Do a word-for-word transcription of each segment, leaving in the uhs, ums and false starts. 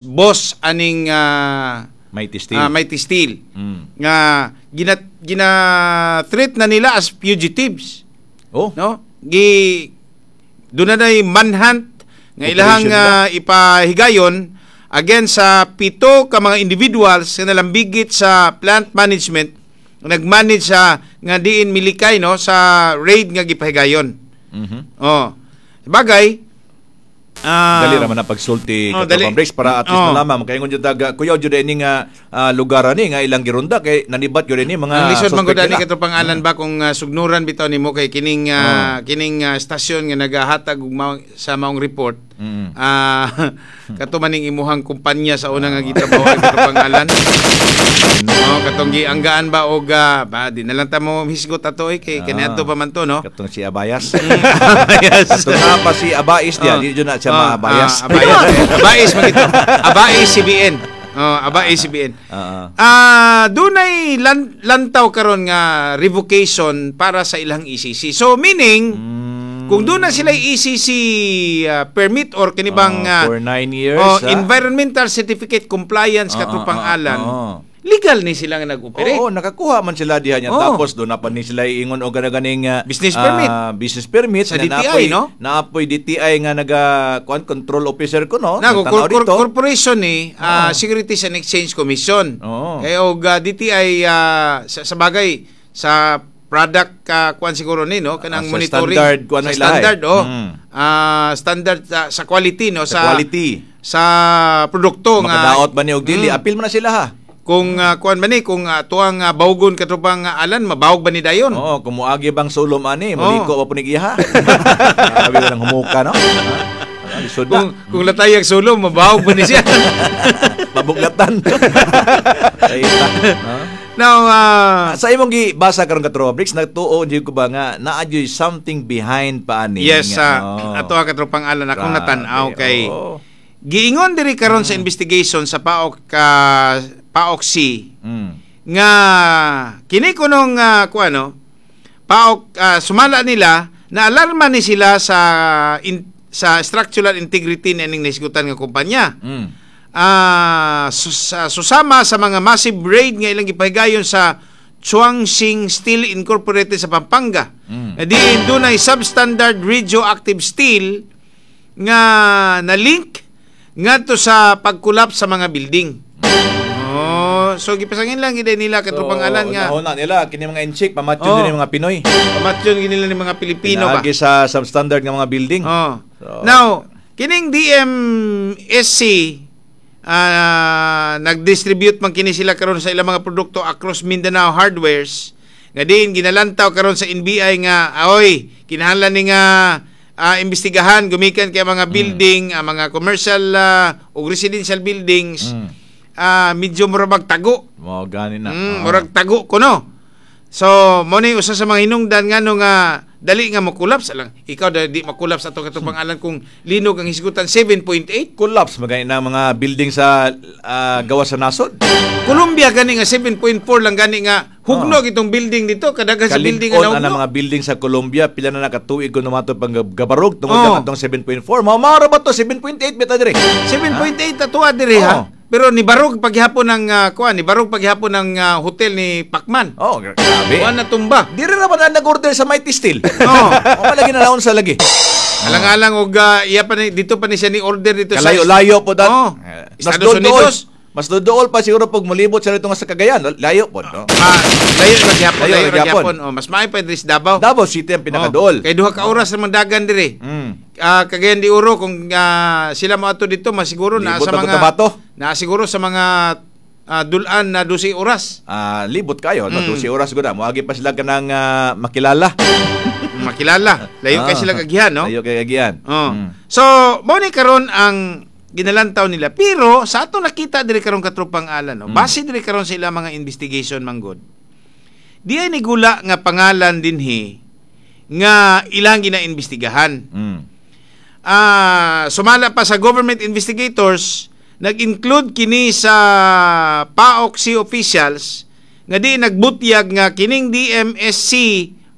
Boss aning uh, Mighty Steel. ah, Mighty Steel Mm. nga gina gina treat na nila as fugitives, Oh. no? Gi doon na nay manhunt nga ilahang Operation ba? ah, ipahigayon against sa pito ka mga individuals nga nalambigit sa plant management, nagmanage sa nga diin milikay, no, sa raid nga gipahigayon. Mhm. Oh, bagay ah, Dali ra man na pagsulti, Oh, oh, dali. Briggs, para at least Oh. malaman makaingon jud taga kuyaw jud ini nga ah, lugar ani nga ilang girunda kay nanibat jud ini mga Ang lisod man suspect gud ani, nila. katong pangalan ba, kung ah, sugnuran bitaw nimo kay kining ah, kining ah, estasyon nga nagahatag og mao- sa maong report. Mm. Ah, kato maning imuhang kumpanya sa una nga gitrabaho, katong pangalan. Oh, katong gianggaan ba og ah, ba di na lang ta mo hisgot ato eh, kay Ah. kaniadto pa man to, no. Katong si Abayas. Yes. Katong nga pa si Abais diya, Oh. di jud na siya Oh, maabayas. ah, Abayas. Abais man gito. Abais C B N. Oh, Abais C B N. Ah, ah. Ah, dunay lan, lantaw karon nga revocation para sa ilang E C C. So meaning Mm. kung doon na sila E C C ah, permit or kini bang Oh, ah, for nine years. oh, ah. environmental certificate compliance, Ah, katropang ah, ah, Alan, ah. legal ni sila nga nag-operate. Oo, nakakuha man sila diha niya. Oo. Tapos doon na pa ni sila ingon og ganing ah, Business permit. ah, business permit Sa na D T I, naapoy, no? Naapoy D T I nga naga kuan, control officer ko, no? Nago, Nagtanaw cor- cor- dito. corporation ni ah, Securities and Exchange Commission. Oo. Kaya og ah, D T I, ah, sa, sa bagay sa product uh, kuan siguro ni, no, kanang Ah, sa monitoring standard, kuan sa na ilahay. standard, oh. Mm. Ah, standard sa, sa quality, no, Sa quality. Sa produkto nga Makadaot ba ni og dili? Mm. Apil man na sila ha. Kung uh, kuan ba ni, kung uh, tuang uh, bawgon, katropang uh, Alan, mabawog ba ni dayon? Oo, kung muagi bang sulom ani, Oo. maliko pa po ni iya ha. Grabe lang humuka, no? Ah, lisod na. Kung kung latayag sulom, mabawog ba ni siya? Mabuglatan. Ay, ta. Ah. Now, ah, Sa imong gibasa karon, katropa Briggs, nagtuo jud ko ba nga naa jud something behind pa ani? Yes, sa Oo. ato ang katropang Alan, akong Grabe, natan-aw kay oo. giingon diri karon sa investigation sa PAOCC ka PAOCC C Mm. nga kini kunong uh, kuan, no, PAOCC, ah, sumala nila na alarma ni sila sa in, sa structural integrity ni nisgutan nga kumpanya. Mm. Ah, sus- sa- susama sa mga massive raid nga ilang gipahigayon sa Chuangxing Steel Incorporated sa Pampanga. Mm. Na diin dunay substandard radioactive steel nga na-link ngadto sa pag-collapse sa mga building. Oh, so gipasangin lang gid nila, katropang Alan, nga So, na nila kini mga inchik pamatyon Oo. din yung mga Pinoy. Pamatyon gid nila ni mga Pilipino ba. Pinaagi sa substandard nga mga building. Oh. So- Now, kining D M S C ah, nag-distribute man kini sila karon sa ilang mga produkto across Mindanao Hardwares nga diin ginalantaw karon sa N B I nga aoy kinahanglan ni nga ah, imbestigahan gumikan kay mga building, ang mga commercial ah, ug residential buildings. Mm. ah, medyo murag tago. Mao gani na. Mm, Oo. murag tago kuno. So, mo ni usa sa mga hinungdan ngano nga dali nga mo-collapse lang. Ikaw da, di ma-collapse ato katong pangalan kung linog ang hisgutan seven point eight. Collapse magani na mga building sa ah, gawas sa nasod. Colombia gani nga seven point four lang gani nga hugnog itong building dito, kadaghan sa building nga Kalig-on ang nahugnog. mga building sa Colombia, pila na nakatuig ko numato pang gab- gabarog tungod Oo. lang atong seven point four. Mao mao ra ba to seven point eight bita dire? seven point eight atua diri ha. Oo. Pero ni barog paghihapon ng uh, kuan, ni barog paghihapon ng ah, hotel ni Pacman. Oh, gra- grabe. Kuan na tumba. Dire ra ba na nag-order sa Mighty Steel? Oo. O palagi na naon sa lagi. Alang-alang og ah, iya pa ni, dito pa ni siya ni order dito sa Kalayo-layo po dat. Oo. Eh, Mas Estados dool. Unidos. Mas dool pa siguro pag mulibot sa dito nga sa Cagayan. Layo po, no? Ah, layo ra gyapon, Layo layo ra ra gyapon. gyapon. Oh, mas maayo pa diri sa Davao. Davao City ang pinakadool. Oh, kay duha ka oras naman dagan diri. Mm. Ah, Cagayan de Oro, kung ah, sila moadto dito, masiguro naa Libot sa na mga Cotabato. naa siguro sa mga ah, dulan na dose oras. Ah, libot kayo, no? Mm. dose oras gud. Moagi pa sila kanang ah, makilala. Makilala. Layo kay Ah. sila kagihan, no? Layo kay agihan. Oh. Mm. So, mao ni karon ang ginalantaw nila. Pero sa atong nakita diri karon, katropang Alan, no? Mm. Base diri karon sa ilang mga investigation manggod. Di ay nigula nga pangalan dinhi nga ilang ginaimbestigahan. Mm. Ah, sumala pa sa government investigators, nag-include kini sa PAOCC officials nga di nagbutyag nga kining D M S C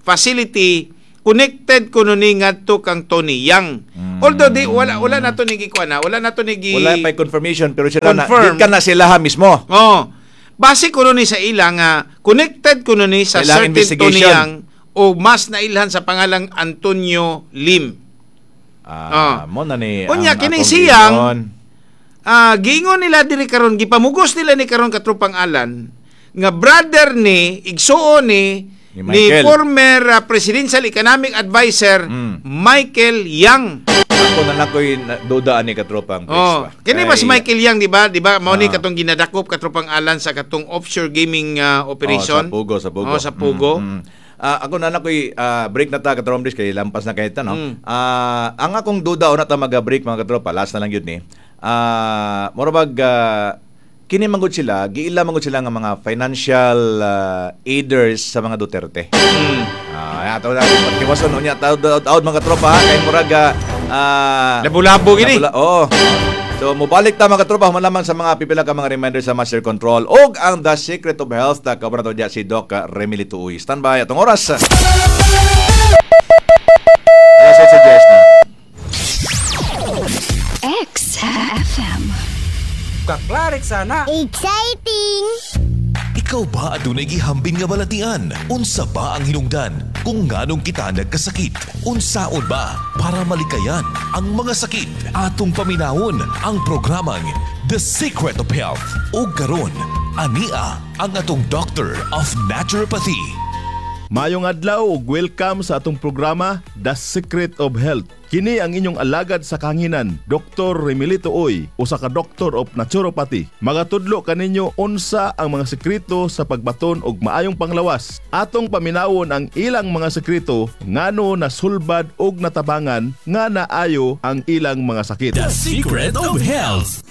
facility Connected kuno ni ngadto kang Tony Yang. Although di wala wala na to ni gikuan na, wala na to ni gi Wala pa confirmation pero sila na Confirm. di ka na sila ha mismo. Oh. Base kuno ni sa ila nga connected kuno ni sa Sa ilang certain Tony investigation. Yang o mas nailhan sa pangalang Antonio Lim. Ah, mo na ni Unya, ang kining akong siyang- giingon. Ah, giingon nila diri karon, gipamugos nila ni karon, katropang Alan, nga brother ni, igsuon ni Ni ni Michael. former ah, presidential economic advisor Mm. Michael Yang. Ako na lang ko'y na- duda ani katropang Briggs Oh, ba. kini ba si Kay- Michael Yang, di ba? Di ba mao ni Ah. katong ginadakop, katropang Alan, sa katong offshore gaming ah, operation? Oh, sa Pugo, sa Pugo. Oh, sa Pugo. Mm, mm. Ah, ako na lang ko'y ah, break na ta, katropang Briggs, kay lampas na kahit no. Mm. Ah, ang akong duda una ta maga-break, mga katropa, last na lang yun ni. Ah, mura bag ah, kini manggod sila, giila manggod sila nga mga financial ah, aiders sa mga Duterte. Mm. Ah, ato na tiwason unya taud taud, mga katropa, ha, kay murag ah, ah, Labo-labo gini. Nabula- Oo. So mobalik ta, mga katropa, human lamang sa mga pipila ka mga reminder sa Master Control og ang The Secret of Health ta kabra to diya si Doc ah, Remily Tuoy. Standby atong oras. Alas eight suggest na. X F M. Kaklarik sana. Exciting! Ikaw ba adunay gihambin nga balatian? Unsa ba ang hinungdan kung nganong kita nagkasakit? Unsaon ba para malikayan ang mga sakit? Atong paminawon ang programang The Secret of Health. O karon, ania ang atong Doctor of Naturopathy. Maayong adlaw ug welcome sa atong programa The Secret of Health. Kini ang inyong alagad sa kahanginan, Doctor Remilito Uy, usa ka Doctor of Naturopathy. Magatudlo kaninyo unsa ang mga sekreto sa pagbaton og maayong panglawas. Atong paminawon ang ilang mga sekreto ngano nasulbad og natabangan nga naayo ang ilang mga sakit. The Secret of Health.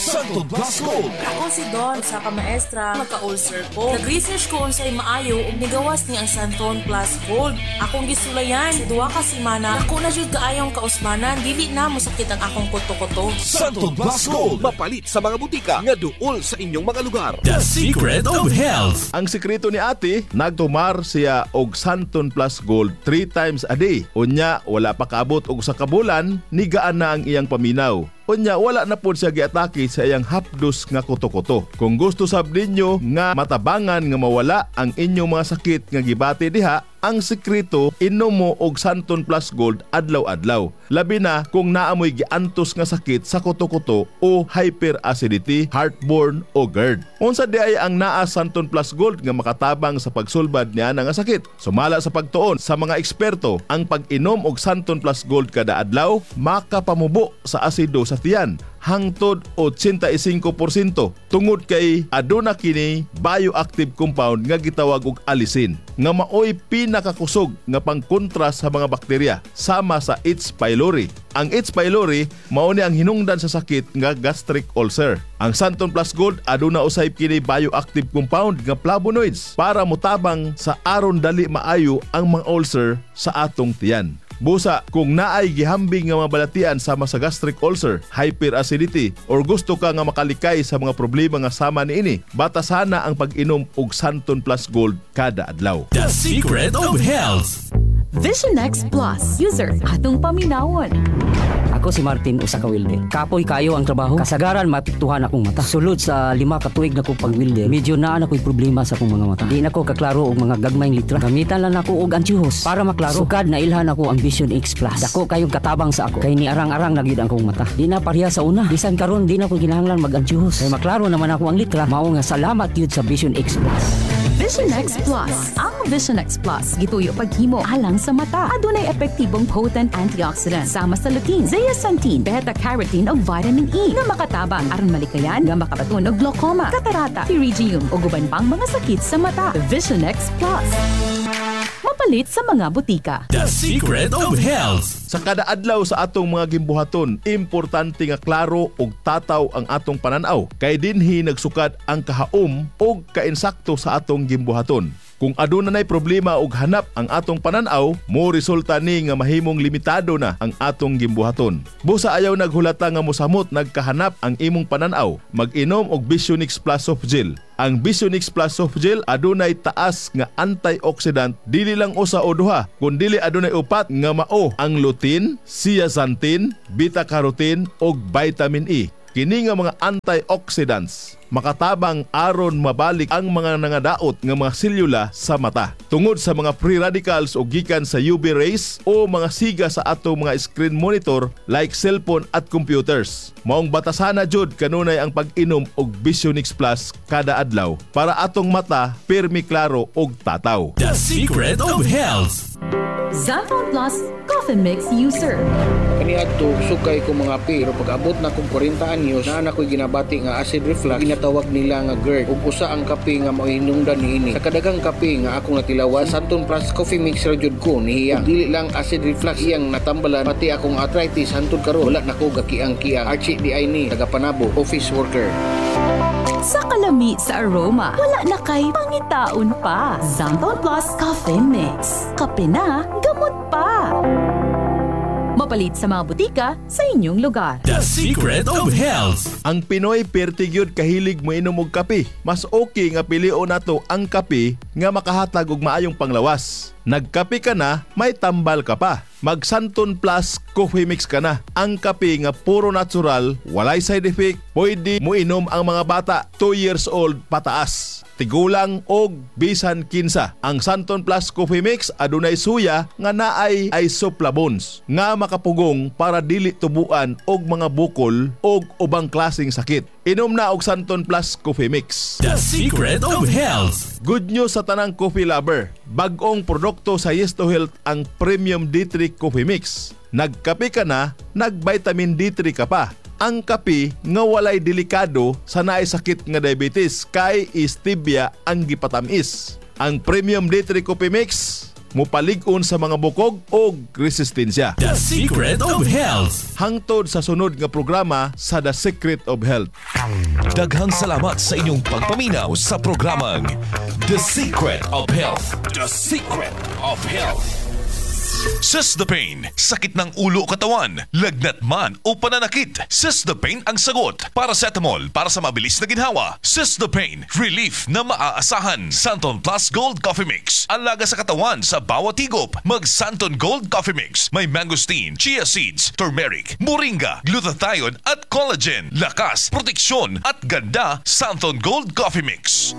Santo Plus Gold. Ako si Don, sa ka maestra, magka-ulcer ko. Nag-research ko unsay maayo ug nigawas ni ang Santon Plus Gold. Akong gisulayan sa duha ka semana, ako na jud kaayong kausbanan, dili na mosakit ang akong kuto-kuto. Santo Plus Gold. Mapalit sa mga butika nga duol sa inyong mga lugar. The Secret of Health. Ang sekreto ni ate, nagtumar siya og Santon Plus Gold three times a day. Unya, wala pa kaabot og usa ka bulan, nigaan na ang iyang paminaw. Unya, wala na pod siya giatake sa iyang hapdos nga kuto-kuto. Kung gusto sab ninyo nga matabangan nga mawala ang inyong mga sakit nga gibati diha, ang sekreto, inom mo og Santon Plus Gold adlaw-adlaw. Labi na kung naamoy giantos nga sakit sa kuto-kuto o hyperacidity, heartburn o GERD. Unsa di ay ang naa Santon Plus Gold nga makatabang sa pagsulbad niya nga sakit? Sumala sa pagtuon sa mga eksperto, ang pag-inom og Santon Plus Gold kada adlaw makapamubo sa asido sa tiyan hangtod eighty-five porsyento tungod kay aduna kini bioactive compound nga gitawag og allicin nga maoy pinakakusog nga pangkontra sa mga bakterya sama sa H. pylori. Ang H. pylori mao ni ang hinungdan sa sakit nga gastric ulcer. Ang Santon Plus Gold aduna usay kini bioactive compound nga flavonoids para motabang sa aron dali maayo ang mga ulcer sa atong tiyan. Busa, kung naay gihambing nga mga balatian sama sa gastric ulcer, hyperacidity, or gusto ka nga makalikay sa mga problema nga sama niini, batasana ang pag-inom og Santon Plus Gold kada adlaw. The Secret of Health. Vision X Plus. User, atong paminawon. Ako si Martin, usa ka welder. Kapoy kayo ang trabaho. Kasagaran maapektuhan akong mata. Sulod sa lima ka tuig na ko pag-welder, medyo naa na ko'y problema sa akong mga mata. Di na ko kaklaro og mga gagmayng litra. Gamitan lang nako og antiyohos para maklaro. Sukad na ilhan ako ang Vision X Plus. Dako kayong katabang sa ako. Kay ni arang-arang na gyud ang akong mata. Di na pareha sa una. Bisan karon di na ko kinahanglan mag-antiyohos. Kay maklaro naman ako ang litra. Mao nga salamat gyud sa Vision X Plus. Vision X Plus. Ang Vision X Plus, gituyo paghimo alang sa mata. Adunay epektibong potent antioxidant sama sa lutein, zeaxanthin, beta-carotene ug vitamin E nga makatabang aron malikayan nga makabaton og glaucoma, katarata, pterygium ug uban pang mga sakit sa mata. Vision X Plus. Mapalit sa mga butika. The Secret of Health. Sa kada adlaw sa atong mga gimbuhaton, importante nga klaro ug tataw ang atong pananaw. Kay dinhi nagsukad ang kahaom ug kainsakto sa atong gimbuhaton. Kung aduna nay problema og hanap ang atong pananaw, mo resulta ni nga mahimong limitado na ang atong gimbuhaton. Busa ayaw naghulata nga mosamot nagkahanap ang imong pananaw. Mag-inom og Visionix Plus Soft Gel. Ang Visionix Plus Soft Gel adunay taas nga antioxidant, dili lang usa o duha, kundili adunay upat nga mao ang lutein, zeaxanthin, beta-carotene ug vitamin E. Kini nga mga antioxidants makatabang aron mabalik ang mga nangadaot nga mga selula sa mata. Tungod sa mga free radicals o gikan sa U V rays o mga siga sa atong mga screen monitor like cellphone at computers. Maong batasana jud kanunay ang pag-inom og Visionix Plus kada adlaw para atong mata pirmi klaro og tataw. The Secret of Health. Xanthone Plus Coffee Mix User. Kaniadto sukay ko mga pero pag abot na kong kwarenta anyos, naa na ko'y ginabati nga acid reflux, ginatawag nila nga GERD, ug usa ang kape nga mao'y hinungdan niini. Sa kadaghang kape nga akong natilawan, Xanthone Plus Coffee Mix ra jud ko nihiyang. Ug dili lang acid reflux iyang natambalan, pati akong arthritis, hantod karon wala na ko gakiang-kiang. Archie di ay ni taga Panabo, office worker. Sa kalami sa aroma, wala na kay pangitaon pa. Xanthone Plus Coffee Mix. Kape na, gamot pa. Mapalit sa mga butika sa inyong lugar. The Secret of Health. Ang Pinoy perti gyud kahilig moinom og kape. Mas okay nga pilion nato ang kape nga makahatag og maayong panglawas. Nagkape ka na, may tambal ka pa. Mag Xanthone Plus Coffee Mix ka na. Ang kape nga puro natural, walay side effect, pwede moinom ang mga bata two years old pataas, tigulang og bisan kinsa. Ang Xanthone Plus Coffee Mix adunay suya nga naay isoflavones nga makapugong para dili tubuan og mga bukol og ubang klaseng sakit. Inom na og Xanthone Plus Coffee Mix. The Secret of Health. Good news sa tanang coffee lover. Bag-ong produkto sa Yes to Health ang Premium D three Coffee Mix. Nagkape ka na, nag-vitamin D three ka pa. Ang kape nga walay delikado sa naay sakit nga diabetes kay stevia ang gipatamis. Ang Premium D three Coffee Mix mupalig-on sa mga bukog og resistensya. The Secret of Health. Hangtod sa sunod nga programa sa The Secret of Health. Daghang salamat sa inyong pagpaminaw sa programang The Secret of Health. The Secret of Health. Sis the Pain, sakit ng ulo o katawan, lagnat man o pananakit. Sis the Pain ang sagot. Paracetamol para sa mabilis na ginhawa. Sis the Pain, relief na maaasahan. Xanthone Plus Gold Coffee Mix, alaga sa katawan sa bawat higop. Mag Xanthone Gold Coffee Mix. May mangosteen, chia seeds, turmeric, moringa, glutathione at collagen. Lakas, proteksyon at ganda. Xanthone Gold Coffee Mix.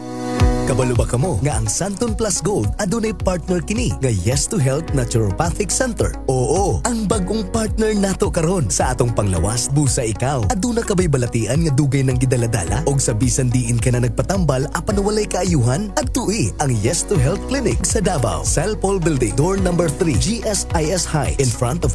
Kabalo ba kamo nga ang Xanthone Plus Gold adunay partner kini nga Yes to Health Naturopathic Center? Oo, ang bagong partner nato karon sa atong panglawas. Busa ikaw, aduna ka bay balatian nga dugay nang gidaladala og sa bisan diin ka na nagpatambal apan walay kaayuhan? Adtui ang Yes to Health Clinic sa Davao, Cellpol Building, door number three, G S I S High, in front of